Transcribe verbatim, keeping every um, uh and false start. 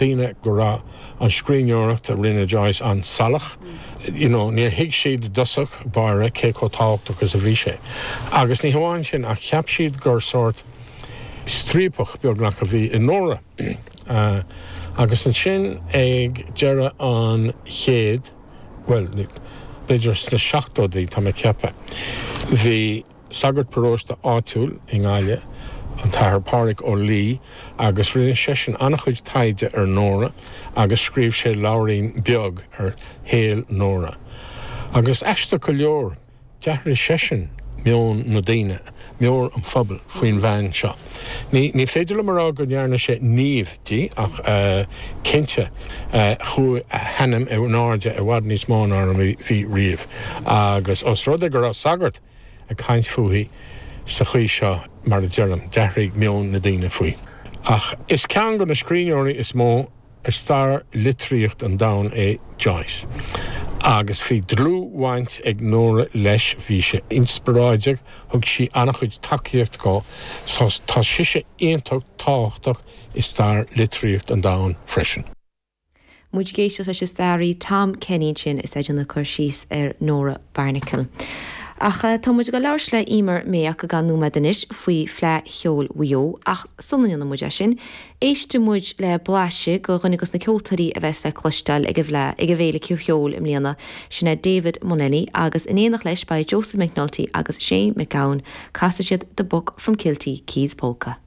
daoine go raibh an scríbhneoireacht a rinne Joyce an-salach. You know, níor thuig siad i dtosach báire cé chomh tábhachtach is a bhí sé. Agus ní hamháin sin ach cheap siad gur sórt striapach beagnach a bhí i Nóra. Uh, agus ansin ag deireadh an chéid, well, b'fhéidir sna seachtóidí tá mé ag ceapadh. Bhí sagart paróiste áitiúil i nGaillimh, an tAthair Pádraig Ó Laoi agus rinne seisean an-chuid taighde ar Nóra agus scríobh sé leabhairín beag ar shaol Nóra. Agus aisteach go leor d'athraigh seisean meon na ndaoine, meon an phobail faoin bhean seo. Ní, ní féidir liom a rá go ndearna sé naomh di ach uh, cinnte uh, chuaigh a hainm in airde i bhfad níos mó ná a bhí riamh. Agus os rud é go raibh sagart ag caint fúithi sa chaoi seo mar a deirim, d'athraigh meon na ndaoine faoi. Ach is ceann de na scríbhneoirí is mó ar stair litríocht an domhain é Joyce. Agus bhí dlúthbhaint ag Nóra leis bhí sé inspioráideach, thug sí an-chuid tacaíocht dó, so tá sise iontach tábhachtach i stair litríocht an domhain freisin. Muid ag éisteacht leis an staraí Tom Kenny sin is é ag cur síos ar Nóra Barnacle. Ach tá muid ag labhairt le Emer Mayock go ceann nóiméad anois faoi Fleadh Cheoil Mhaigh Eo ach sula ndéanann muid é sin, éistfidh muid le blaiseadh de dhuine de na ceoltóirí a bheas le cloisteáil ag an bhFleadh ag an bhFéile Ceoil i mbliana sin é David Mullany agus in éineacht leis beidh Joseph McNulty agus Shane McGowan casfaidh siad The Buck from Kilty Keys Polka.